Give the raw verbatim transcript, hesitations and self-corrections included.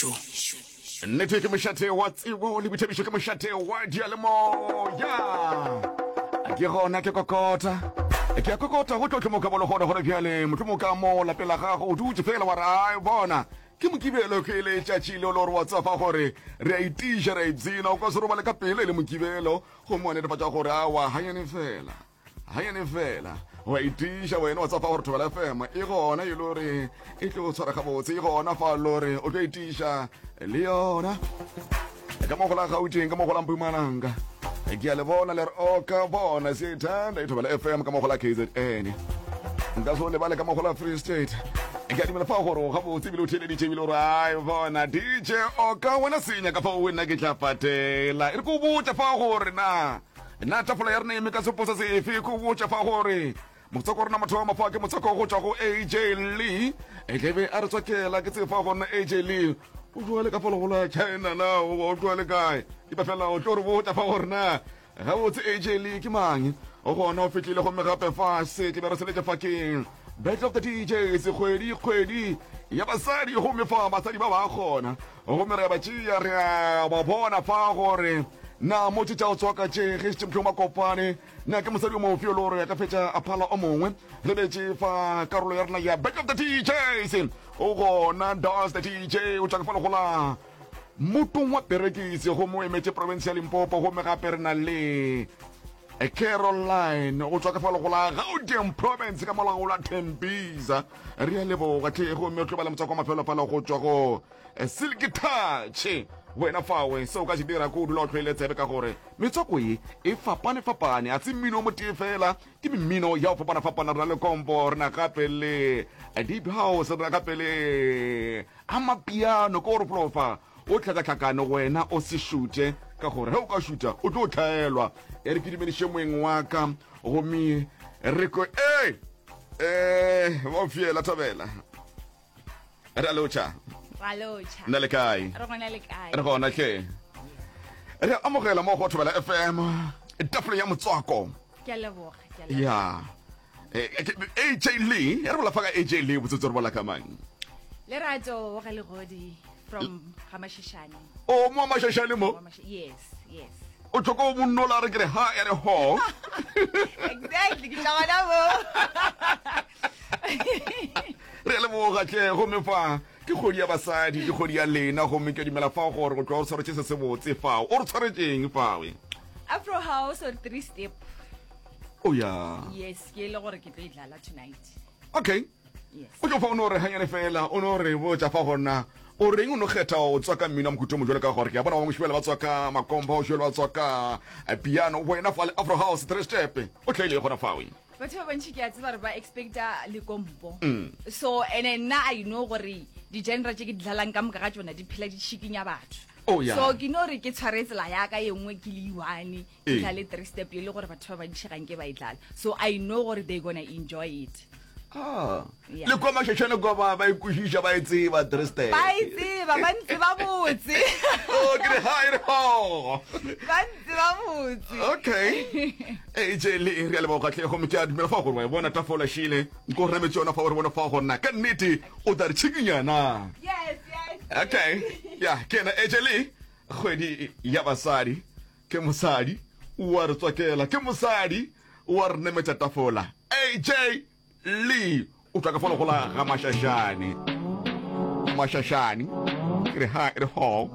Boithabišo. Nnete ke mošate wa tsebo le boithabišo, ke mošate wa diyalemoya. Ke gona ke kokota, ke a kokota go tlo tlomoka bolo gona gore bjale mohlomong ka mo lapeng la gago o dutše fela wa re ai bona ke Mokibelo, ke letšatši leo le gore wa tsefa gore re a itiša, re a ipshina, o ka se robale ka pele e le Mokibelo gomme wa netefatša gore awa ganyane fela ganyane fela wa itiša wena wa tsefa gore Thobela F M e gona e le gore e tlo tshwara gabotse, e gona fa le gore o tlo itiša le yona ka mo go la Gauteng, ka mo go la Mpumalanga. Ke a le bona le re o ka bona se ithanda e Thobela F M ka mo go la K Z N, nka se o lebale ka mo go la Free State. Ke a dumela fa gore o gabotse ebile o theeleditše ebile gore ai bona D J o ka wena senya ka fa o nna ke tla patela. E re ko botša fa gore na na tafola ya rena eme ka seposa sefe, ko botša fa gore motswako rena mathomo fa ke motswako go tšwa go A J Lee, e tlebe a re tswakela. Ke tsefa gore na A J Lee o jwale ka falo gola China na o jwale kae, epa fela o tlo re botša fa gore na gabotse A J Lee ke mang. O gona o fitlhile gomme gape fa se tlebe re seletše fa keng Battle of the D Js, kgwedi kgwedi ya basadi, gomme fa basadi ba ba kgona gomme re a ba tšea, re a ba bona fa gore na mo tše tša go tswaka tše ge šetše mohlomong ba kopane na ke mosadi o mofe o le gore a ka fetša a phala o mongwe. Lebetše fa karolo ya rena ya Battle of the D Js, o gona Das the D J o tšwa ka fa legola motong wa Perekisi gomme o emetše province ya Limpopo, gomme gape re na le Caroline go tswa ka fa legola Gauteng province ka molao la Tembisa. Re a leboga tlhe, gomme o tlo ba le motswako wa mafelo fala go tswa go Silky Touch. Wena fawe seo ka se dira ko o dula o tlhoile tsebe ka gore metswako ye e fapane-fapane, a se mmino o motee fela, ke mmino ya go fapana-fapana. Re na le kompo, re na gape le deep house, re na gape le amapiano, ke gore folofa o tlhakatlhakane. Wena o se šute ka gore ge o ka šuta o tlo tlhaelwa. E re ke dumediše moeng wa ka gomme re ko e eh ba fiela thabela re a lotšha. Ra lotšha. Nna le kae? Re gona, le kae? Re gona hle, re amogela mo go Thobela F M tafoleng ya motswako. Ke a leboga, ke a leboga. Ya, Eh, ke- A J Lee, re bola fa ka A J Lee, botsotsi re bola ka mang? Lerato wa ga Legodi from Gamashishane. O mo Mashashane mo? Wa Mash- yes yes O tlhoka o monnola re kere ha ya re ho. Exactly, ke tla gona mo. Re a leboga tle, gomme fa ke kgwedi ya basadi, ke kgwedi ya lena, gomme ke dumela fa gore go tloga o tshwaretše se se botse fao. O re tshwaretšeng fawe? Afro house or three step. O ya. Yes, ke le gore ke tlo e dlala tonight. Okay. Yes. O tlo fa o no re ganyane fela, o no re botša fa gona o reng o no kgetha o tswa ka mmino wa mohuta o mo jwalo, ka gore ke a bona ba bangwe šibele ba tswa ka makomba, o šibele ba tswa ka eh, piano, wena fa le afro house three step o tlhaile gona fawe. Batho ba bantši ke a tseba gore ba expecta lekompo, Mm. so ene nna I know gore di-genre tše ke di dlalang ka moka ga tsona di phela di šikinya batho. Oh, yeah. So ke no re ke tshware tsela yaka ye nngwe ke le one, ke Ee. dlale three step e le gore batho ba bantši ga nke ba e dlala, so I know gore they gonna enjoy it. Ah. Yeah. Le kwa Mashashane kwa ba ba ikwešiša, ba e tseba three step? Ba e tseba, ba ntse ba botse. Oh, ke re ha e re ho. Ba ntse ba botse. Okay, A J le re a leboga tlhe, gomme ke a dumela fa gore wa e bona tafola šile nko re nametse yona fa o re bona fa gore na ka nnete o tla re tšhikinyana. yes yes Okay, ya ke ena A J le kgwedi ya basadi, ke mosadi wa re tswakela, ke mosadi wa re nemetša tafola. A J Lee o tswa ka folo gola ga Mashashane, Mashashane ke re ha e re ho.